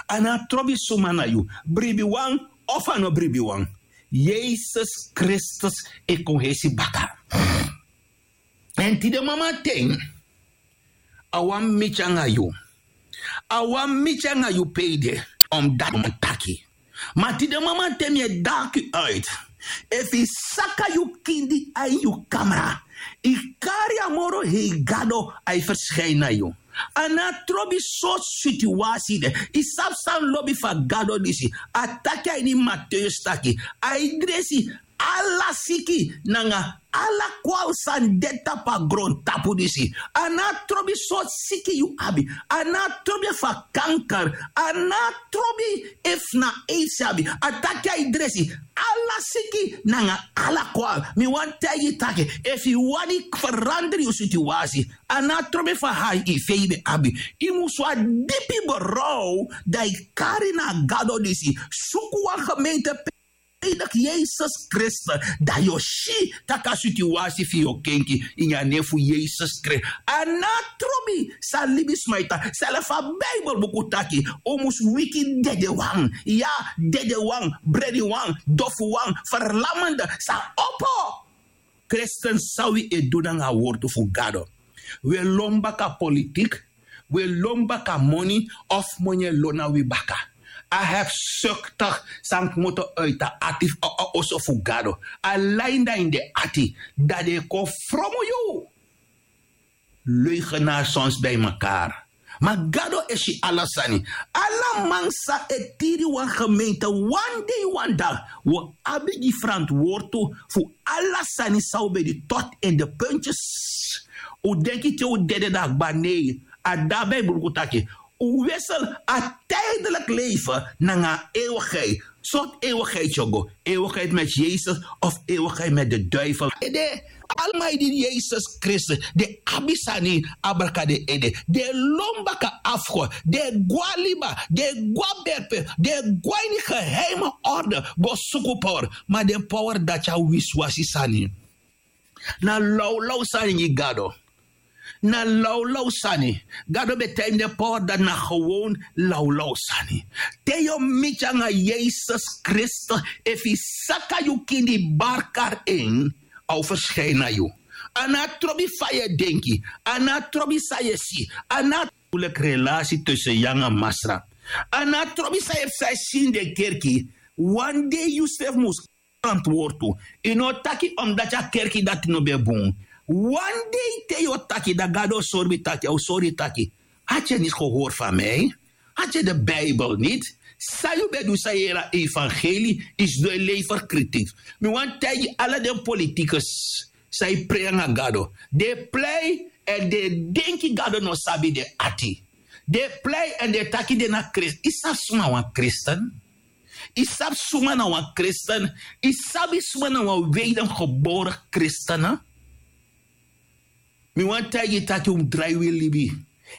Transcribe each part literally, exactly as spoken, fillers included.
A no a trobi suma na yu, bribiwan of a no bribiwan, Yesus Kristus e kon hesi baka. Èn tide mama ten, a wan miti anga yu. A wan miti anga yu pe yu de, omdati mi taki. Ma tide mama ten mi e daki uit. Efu yu saka yu kindi a ini yu kamra, yu kari a moro hei gado a e ferskin na yu. A no a trobi sortu situasi de. Yu sabi san lobi fu a gado disi? A taki a ini Mateus taki a e dresi ala siki nanga ala kwal san de tapu a grontapu disi. A no a trobi sortu siki yu abi. A no a trobi efu a kanker. A no a trobi efu na aids yu abi. A taki a e dresi ala siki nanga ala kwal. Mi wani taigi yu taki, efu yu wani ferandra yu situasi, a no a trobi efu a hiv yu ben abi. Yu mus wani dipi berouw, dan yu kari na a gado disi, suku wan gemeente pe yu e deki Yesus Kristus, dan yu o si tak' a situasi fu yu o kenki. Ini a nen fu Yesus Kristus. A no a trobi san libisma e taki. Srefi a Bijbel buku taki un mus wiki dedewan. Ya, dedewan, brediwan, dofuwan, ferlamende sa opo. Kristen, san wi e du nanga a wortu fu Gado? Wi e lon baka politik, wi e lon baka moni, of moni e lon na wi baka. A hebzuchtig san kmoto uit a ati fu a oso fu Gado. A lai na ini den ati, dan den e kon fromu yu. Leugenaar soms bij mekaar. Ma Gado e si ala sani. Ala man san e tiri wan gemeente wan dei wan dag, wi o abi gi ferantwortu fu ala sani san un ben du tot in de puntjes. Un denki te un dede dan a kba? Nei, a de a Bijbel buku taki un wissel a tijdelijk leven nanga a eeuwigheid. Sortu eeuwigheid yu o go? Eeuwigheid met Yesus of eeuwigheid met de duivel? Ede, alma e dini Yesus Kristus, den abi sani abraka den ede. Den e lon baka afgod, den e go na liba, den e go na berpe, den e go na ini geheime orde go suku power. Ma den power dati a wisiwasi sani. Na lawlaw sani gi Gado. Na lawlaw sani. Gado ben taigi mi den power dati na gewoon lawlaw sani. Te yu o miti anga Yesus Kristus, efu yu saka yu kindi, bari kari en, a o ferskin na yu. A no a trobi fa yu e denki, a no a trobi san yu e si, a no a, relasi tussen yu anga Masra. A no a trobi san yu e si ini den kerki. Wan dei yusrefi mus ferantwortu. Yu no o taki omdati a kerki dati no ben bun. Wan dei te yu o taki, dan Gado o sori mi taki, a o sori yu taki: had je niet gehoord van mij? Had je de Bijbel niet? San yu ben du san yu yere a evangelie, yu sidon e lever kritiek. Mi wani taigi ala den politikus san e prei anga Gado. Den e prei èn den e denki Gado no sabi den ati. Den e prei èn den e taki den na Kristus. Yu sabi suma na wan Kristus? Yu sabi suma na wan Kristus? Yu sabi suma na wan wedergeboren Kristus? Mi wani taigi yu taki un mus drai wi libi.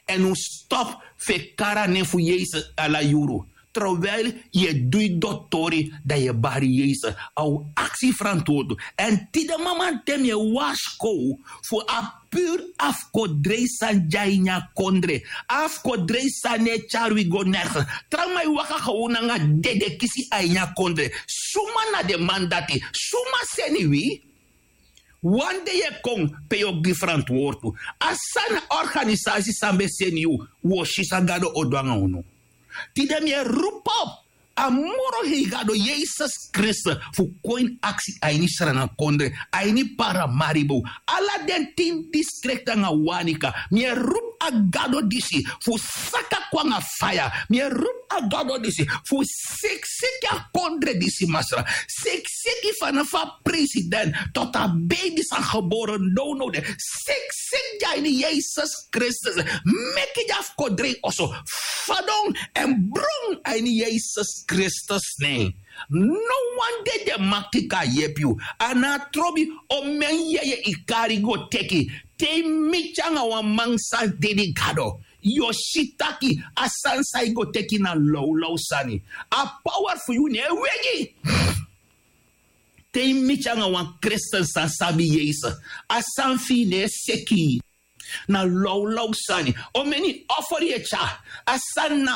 Èn un stop fu e kari a nen fu Yesus ala yuru. Terwijl yu e du yu dotori, dan yu e bari Yesus. A o aksi ferantwortu. Èn tide mamanten mi e warskow fu a puru afkodrei san de a ini a kondre. Afkodrei san no e tyari wi go nergens. Trawan man e waka gewoon nanga dede kisi a ini a kondre. Suma na den man dati? Suma seni wi? Wan dei e kon pe yu o gi ferantwortu. A sani, organisasi san ben seni yu, wi o si san Gado o du anga unu. Tide mi e roepi op a moro hei Gado, Yesus Kristus, fu kon ini aksi a ini Sranan kondre, a ini Paramaribo, ala den tin distrikti anga Wanica. Mi e roepi a Gado disi fu saka kon anga faya. Mi e roepi a Gado disi fu sikisiki a kondre disi, Masra. Sikisiki fanafu a president tot a beibi san gebore nownow de. Sikisiki gi a ini Yesus Kristus. Meki den afkodrei oso fadon èn bron a ini Yesus Kristus nen. No wan dei den makti kan yepi yu. A no a trobi omeni yeye yu kari go teki. Te yu miti anga wan man san dede Gado, yu o si taki a sani san yu go teki na lawlaw sani. A power fu yu no e wegi. Te yu miti anga wan Kristus san sabi Yesus, a sani fu yu no e seki. Na lawlaw sani. Omeni offer yu e tyari, a sani na